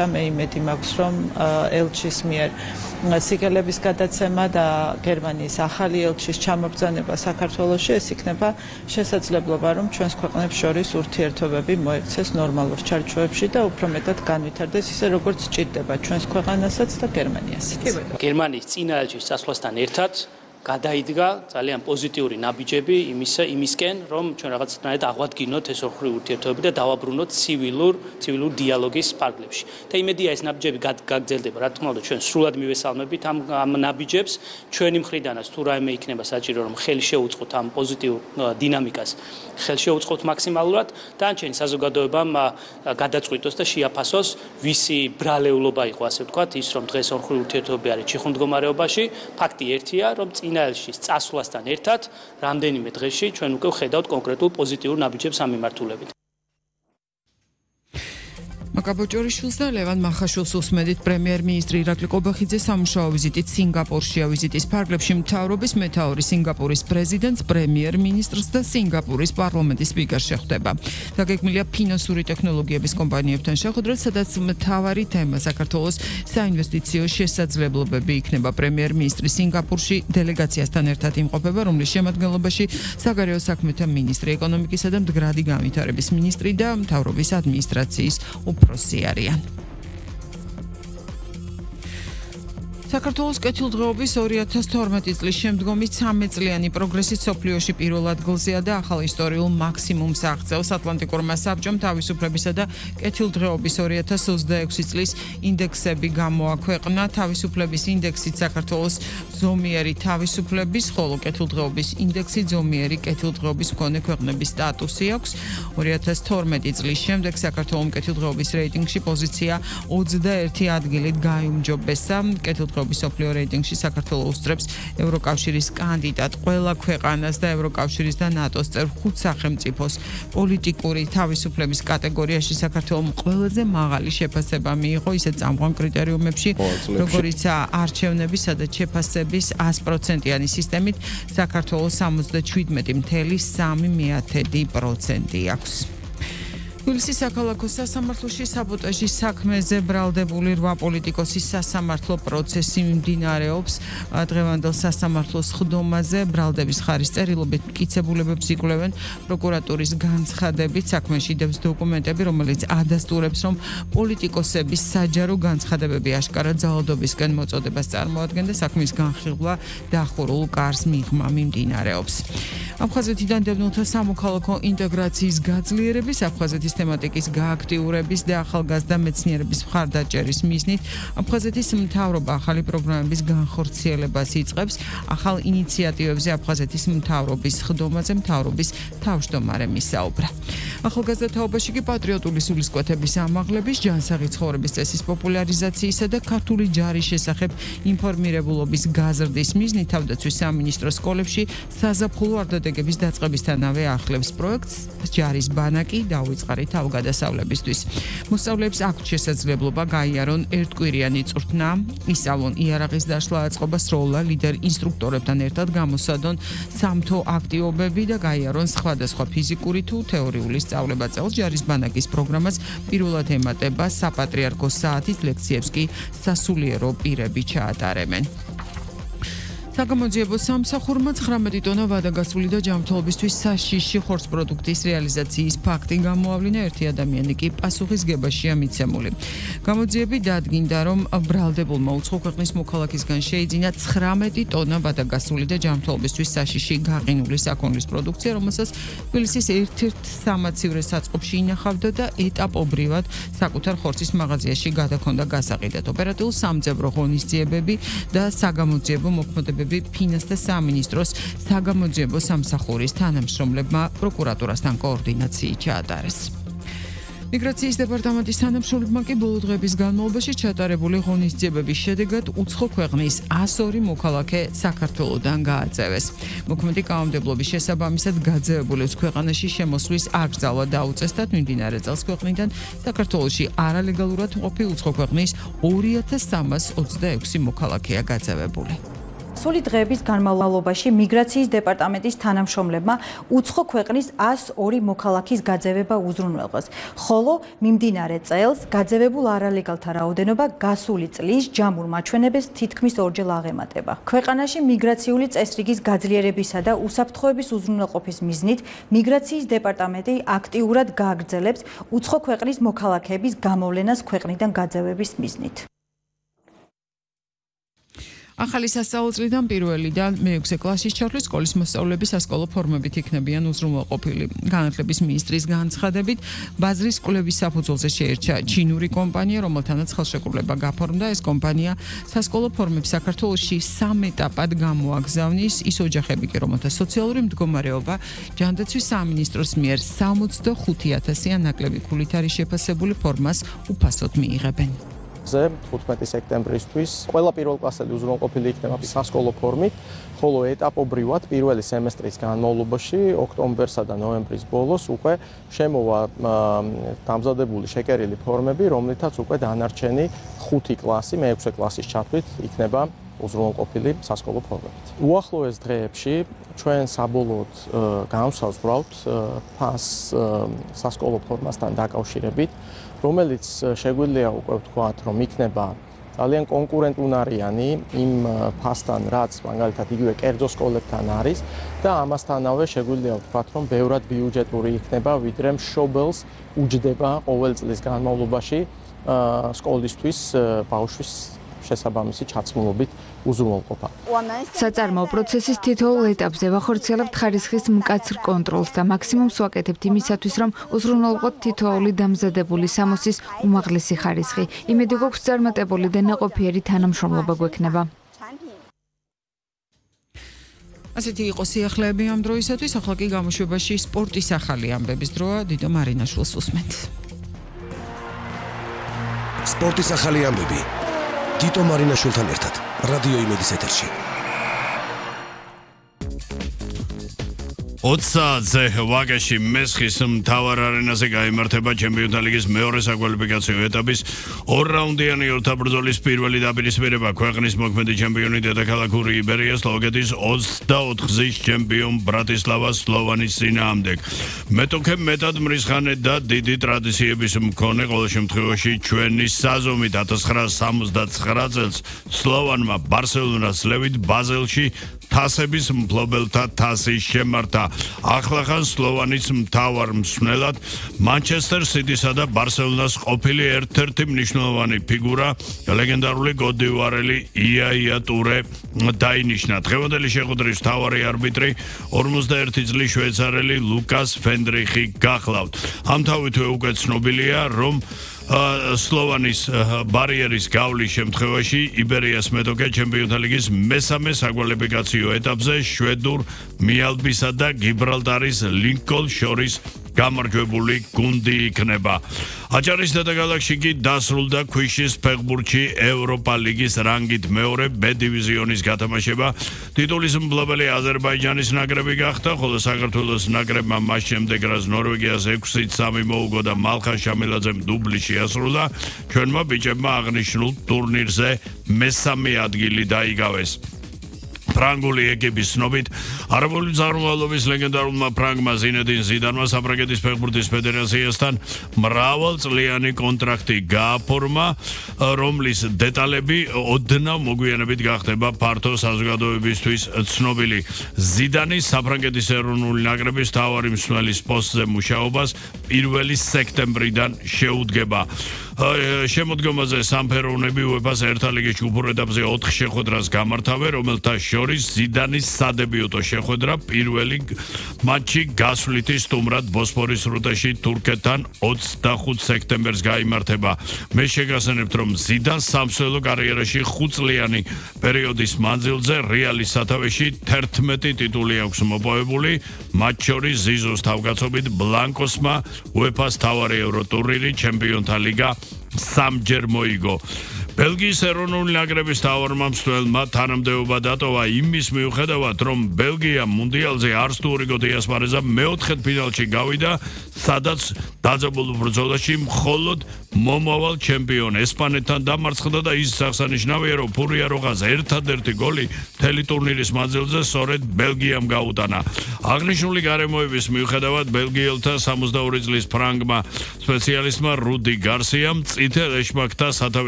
მე იმედი მაქვს, რომ ელჩის მიერ სიგელების გადაცემა და გერმანიის ახალი ელჩის ჩამობრძანება საქართველოში ეს იქნება შესაძლებლობა, რომ ჩვენს ქვეყნებს შორის ურთიერთობები მოექცეს ნორმალურ ჩარჩოებში და უფრო მეტად განვითარდეს ისე, როგორც ჭირდება ჩვენს ქვეყანასაც და გერმანიასაც. გერმანიის წინა ელჩის წასვლასთან ერთად გადაიდგა ძალიან პოზიტიური ნაბიჯები იმისკენ, რომ ჩვენ რაღაცნაირად აღვადგინოთ ეს ორი ურთიერთობები და დავაბრუნოთ ცივილურ დიალოგის ფარგლებში. და იმედია ეს ნაბიჯები გაგრძელდება, რა თქმა უნდა, ჩვენ სრულად მივესალმებით ამ ნაბიჯებს, ჩვენი მხრიდანაც თუ რაიმე იქნება საჭირო, რომ ხელი შეუწყოთ ამ პოზიტიურ დინამიკას, ხელი შეუწყოთ მაქსიმალურად, დანარჩენი საზოგადოებამ გადაწყვიტოს და შეაფასოს, ვისი ბრალეულობა იყო, ასე ვთქვათ, ის რომ დღეს ორი ურთიერთობები არის ჩიხურ მდგომარეობაში, ფაქტი ერთია, რომ წინა ელჩის წასვლასთან ერთად რამდენიმე დღეში ჩვენ უკვე ვხედავთ კონკრეტულ პოზიტიურ ნაბიჯებს ამ მიმართულებით. მაკაბოჭორიშვილს და ლევან მახაშვილს უსმენთ პრემიერ-მინისტრი ირაკლი ყობახიძე სამუშაო ვიზიტით სინგაპურშია. ვიზიტის ფარგლებში მთავრობის მეთაური სინგაპურის პრეზიდენტს, პრემიერ-მინისტრს და სინგაპურის პარლამენტის სპიკერს შეხვდება. დაგეგმილია ფინანსური ტექნოლოგიების კომპანიებთან შეხვედრა, სადაც მთავარი თემა საქართველოს საინვესტიციო შესაძლებლობები იქნება. პრემიერ-მინისტრი სინგაპურში დელეგაციასთან ერთად იმყოფება, რომლის შემადგენლობაში საგარეო საქმეთა მინისტრი, ეკონომიკისა და მდგრადი განვითარების მინისტრი და მთავრობის ადმინისტრაციის უფროსი არიან. საქართველოს კეთილდღეობის 2012 წლის შემდგომი 13 წლიანი პროგრესი სოფლიოში პირველ ადგილზეა და ახალ ისტორიულ მაქსიმუმს აღწევს. ატლანტიკურმა საბჭომ თავისუფლებისა და კეთილდღეობის 2026 წლის ინდექსები გამოაქვეყნა. თავისუფლების ინდექსით საქართველოს ზომიერი თავისუფლების, ხოლო კეთილდღეობის ინდექსით ზომიერი კეთილდღეობის მქონე ქვეყნების სტატუსი აქვს. 2012 წლის შემდეგ საქართველოს კეთილდღეობის რეიტინგში პოზიცია 21 ადგილით გაიუმჯობესა. სოფლიო რეიტინგში საქართველოს უსწრებს ევროკავშირის კანდიდატ ყველა ქვეყანას და ევროკავშირის და ნატოს წევრ 5 სახელმწიფოს. პოლიტიკური თავისუფლების კატეგორიაში საქართველოს ყველაზე მაღალი შეფასება მიიღო ისეთ წამყვან კრიტერიუმებში, როგორიცაა არჩევნებისა და შეფასების 100%-იანი სისტემით საქართველოს 77.3% აქვს. თბილისის საქალაქო სასამართლოში საბოტაჟის საქმეზე ბრალდებული 8 პოლიტიკოსის სასამართლო პროცესი მიმდინარეობს. დღევანდელ სასამართლოს ხდომაზე ბრალდების ხარის წერილობით მტკიცებულებებს იკვლევენ. პროკურატურის განცხადებით საქმეში დევს დოკუმენტები, რომელიც ადასტურებს, რომ პოლიტიკოსების საჯარო განცხადებები აშკარა ძალადობისკენ მოწოდებას წარმოადგენდა. საქმის განხილვა დახურულ კარს მიღმა მიმდინარეობს. აფხაზეთიდან დევნილთა სამოქალაქო ინტეგრაციის გაძლიერების, აფხაზეთის თემატიკის გააქტიურების და ახალგაზრდა მეცნიერების მხარდაჭერის მიზნით აფხაზეთის მთავრობა ახალი პროგრამების განხორციელებას იწყებს. ახალ ინიციატივებზე აფხაზეთის მთავრობის ხდომაზე მთავრობის თავმჯდომარემ ისაუბრა. ახალგაზრდა თაობაში კი პატრიოტული სულისკვეთების ამაღლების, ჯანსაღი ცხოვრების წესის პოპულარიზაციისა და ქართული ჯარის შესახებ ინფორმირებულობის გაზრდის მიზნით თავდაცვის სამინისტროს სკოლებში საზაფხულო არდადეგების დაწყებისთანავე ახლებს პროექტს ჯარის ბანაკი დაუვიწყარი თავგადასავლებისთვის. მოსწავლეებს აქვთ შესაძლებლობა გაიარონ ერთკვირიანი წვრთნა, ისწავლონ იარაღის დაშლა, აწყობა სროლა, ლიდერ ინსტრუქტორებთან ერთად გამოსადონ სამთო აქტივობები და გაიარონ სხვადასხვა ფიზიკური თუ თეორიული სწავლება. წელს ჯარის ბანაკის პროგრამას პირველად ემატება საპატრიარქოს საათის ლექციებს კი სასულიერო პირები ჩაატარებენ. საგამოძიებო სამსახურმა 19 ტონა ვადაგასული და ჯანმრთელობისთვის საშიში ხორცპროდუქტის რეალიზაციის ფაქტი გამოავლინა. ერთი ადამიანი კი პასუხისგებაშია მიცემული. გამოძიები დადგინდა, რომ ბრალდებულმა უცხო ქვეყნის მოქალაქისგან შეიძინა 19 ტონა ვადაგასული და ჯანმრთელობისთვის საშიში გაყინული საქონლის პროდუქცია, რომელსაც თბილისის ერთ-ერთ სამაცივრე საწყობში ინახავდა და ეტაპობრივად საკუთარ ხორცის მაღაზიაში გადაქონდა გასაყიდად. ოპერატიულ სამძებრო ღონისძიებები და საგამოძიებო მოქმედებები ფინანსთა სამინისტროს საგამოძიებო სამსახურის თანამშრომლებმა პროკურატურასთან კოორდინაციით ჩაატარეს. მიგრაციის დეპარტამენტის თანამშრომლებმა კი ბოლო დღეების განმავლობაში ჩატარებული ღონისძიებების შედეგად უცხო ქვეყნის 102 მოქალაქე საქართველოდან გააწევეს. მოქმედი კანონმდებლობის შესაბამისად გაძევებულებს ქვეყანაში შემოსვლის აკრძალვა დაუწესდათ. მიმდინარე წელს ქვეყნიდან საქართველოში არალეგალურად მყოფი უცხო ქვეყნის 2326 მოქალაქეა გაძევებული. სული დღეების განმავლობაში მიგრაციის დეპარტამენტის თანამშრომლებმა უცხო ქვეყნის 102 მოქალაქის გაძევება უზრუნველყვეს, ხოლო მიმდინარე წელს გაძევებულ არალეგალთა რაოდენობა გასული წლის ჯამურ მაჩვენებელს თითქმის ორჯერ აღემატება. ქვეყანაში მიგრაციული წესრიგის გაძლიერებისა და უსაფრთხოების უზრუნველყოფის მიზნით მიგრაციის დეპარტამენტი აქტიურად გააგრძელებს უცხო ქვეყნის მოქალაქეების გამოვლენას ქვეყნიდან გაძევების მიზნით. ახალი სასწავლო წლიდან პირველიდან მე-6 კლასის ჩათვლის სკოლის მოსწავლეები სასკოლო ფორმებით იქნებიან უზრუნველყოფილი. განათლების მინისტრის განცხადებით, ბაზრის კვლევის საფუძველზე შეერჩა ჩინური კომპანია, რომელთანაც ხელშეკრულება გაფორმდა. ეს კომპანია სასკოლო ფორმებს საქართველოში 3 ეტაპად გამოაგზავნის. ის ოჯახები კი, რომელთა სოციალური მდგომარეობა ჯანდაცვის სამინისტროს მიერ 65,000-იან ნაკლები ქულით არის შეფასებული ფორმას უფასოდ მიიღებენ. 15 სექტემბრისთვის ყველა პირველკლასელი უზრუნველყოფილი იქნება სასკოლო ფორმით, ხოლო ეტაპობრივად პირველი სემესტრის განმავლობაში, ოქტომბერსა და ნოემბრის ბოლოს უკვე შემოვა დამზადებული შეკერილი ფორმები, რომლითაც უკვე დანარჩენი 5 კლასი, მე-6 კლასის ჩათვლით იქნება უზრუნველყოფილი სასკოლო ფორმებით. უახლოეს დღეებში ჩვენ საბოლოოდ განვსაზღვრავთ ფასს სასკოლო ფორმასთან დაკავშირებით, რომელიც შეგვიძლია უკვე ვთქვათ, რომ იქნება ძალიან კონკურენტუნარიანი იმ ფასთან, რაც მაგალითად იგივე კერძო სკოლებთან არის და ამასთანავე შეგვიძლია ვთქვათ, რომ ბევრად ბიუჯეტური იქნება, ვიდრე მშობელს უჯდება ყოველ წლის განმავლობაში სკოლისთვის ბავშვის შესაბამისი ჩაცმულობით უზრუნველყოფა. საწარმოო პროცესის თითოეულ ეტაპზე ვახორციელებთ ხარისხის მკაცრ კონტროლს და მაქსიმუმს ვაკეთებთ იმისათვის, რომ უზრუნველყოთ თითოეული დამზადებული სამოსის უმაღლესი ხარისხი. იმედი გვაქვს წარმატებული და ნაყოფიერი თანამშრომლობა გვექნება. ასეთი იყო სიახლეები ამ დროისათვის, ახლა კი გამოშვებაში სპორტის ახალი ამბების დროა. დიდო მარინაშვილს უსმენთ. სპორტის ახალი ამბები. თითო მარინაშვილთან ერთად რადიო იმედის ეთერში. 20 საათზე ვაკეში მესხის მთავარ არენაზე გაიმართება ჩემპიონთა ლიგის მეორე საკვალიფიკაციო ეტაპის ორ-რაუნდიანი ორთაბრძოლის პირველი დაპირისპირება. ქვეყნის მოქმედი ჩემპიონი დედაქალაქური იბერია სლოვაკეთის 24 გზის ჩემპიონ ბრატისლავა სლოვანის წინააღმდეგ. მეტოქე მეტად მრისხანე და დიდი ტრადიციების მქონე, ყოველ შემთხვევაში ჩვენი საზომით 1979 წელს სლოვანმა ბარსელონას ლევით ბაზელში თასების მფლობელთა თასი შემართა. ახლახან სლოვანის მთავარ მსმენელად მანჩესტერ სიტისა და ბარსელონას ყოფილი ერთ-ერთი მნიშვნელოვანი ფიგურა ლეგენდარული გოდივარელი იაია ტურე დაინიშნა. დღევანდელი შეხვედრის მთავარი არბიტრი 51 წლის შვეიცარიელი ლუკას ფენდრიხი გახლავთ. ამთავითვე უკვე ცნობილია, რომ სლოვანის ბარიერის გავლის შემთხვევაში იბერიას მეტოქე ჩემპიონთა ლიგის მესამე საკვალიფიკაციო ეტაპზე შვედურ მიალბისა და გიბრალტარის ლინკოლ შორის გამარჯვებული გუნდი იქნება. აჭარის დედაქალაქში კი დასრულდა ქვიშის ფეხბურთში ევროპა ლიგის რანგით მეორე B დივიზიონის გათამაშება. ტიტულის მფლობელი აზერბაიჯანის ნაკრები გახდა, ხოლო საქართველოს ნაკრებმა მას შემდეგ, რაც ნორვეგიას 6-3 მოუგო და მალხა შამილაძემ დუბლი შეასრულა, ჩვენმა ბიჭებმა აღნიშნულ ტურნირზე მესამე ადგილი დაიკავეს. ფრანგული ეკიპის ცნობით არაბული წარმომავლობის ლეგენდარულმა ფრანგმა ზინედინ ზიდანმა საფრანგეთის ფეხბურთის ფედერაციასთან მრავალწლიანი კონტრაქტი გააფორმა, რომლის დეტალები ოდნავ მოგვიანებით გახდება ფართო საზოგადოებისთვის ცნობილი. ზიდანი საფრანგეთის ეროვნული ნაკრების მთავარი მსმენელის პოსტზე მუშაობას 1 სექტემბრიდან შეუდგება. შემოდგომაზე სამფეროვნები UEFA-ს ერთა ლიგის ჯგუფურ ეტაპზე 4 შეხვედრას გამართავენ, რომელთა შორის ზიდანის სადებიუტო შეხვედრა პირველი მატჩი გასვლითი სტუმრად ბოსფორის სრუტეში თურქეთთან 25 სექტემბერს გაიმართება. მე შეგახსენებთ, რომ ზიდანს სამსვლელო კარიერაში 5 წლიანი პერიოდის მანძილზე რეალის სათავეში 11 ტიტული აქვს მოპოვებული, მათ შორის ზიზოს თავკაცობით ბლანკოსმა UEFA-ს მთავარი ევროტურნირი, ჩემპიონთა ლიგა 3 ჯერ მოიგო. ბელგიის ეროვნული ნაკრების თავარმა მცველმა თანამდებობა დატოვა იმის მიუხედავად, რომ ბელგია მუნდიალზე არც თუ რიგო დიასპარეზა მეოთხედ ფინალში გავიდა, სადაც დაძაბულ ბრძოლაში მხოლოდ მომავალ ჩემპიონ ესპანეთთან დამარცხდა და ის აღსანიშნავია, რომ ფურიაროღას ერთადერთი გოლი მთელი ტურნირის მანძილზე სწორედ ბელგიამ გაუტანა. აღნიშნული გარემოების მიუხედავად ბელგიელთა 62 წლის ფრანგმა სპეციალისტმა რუდი გარსიამ წითელ ეშმაკთა სათავეში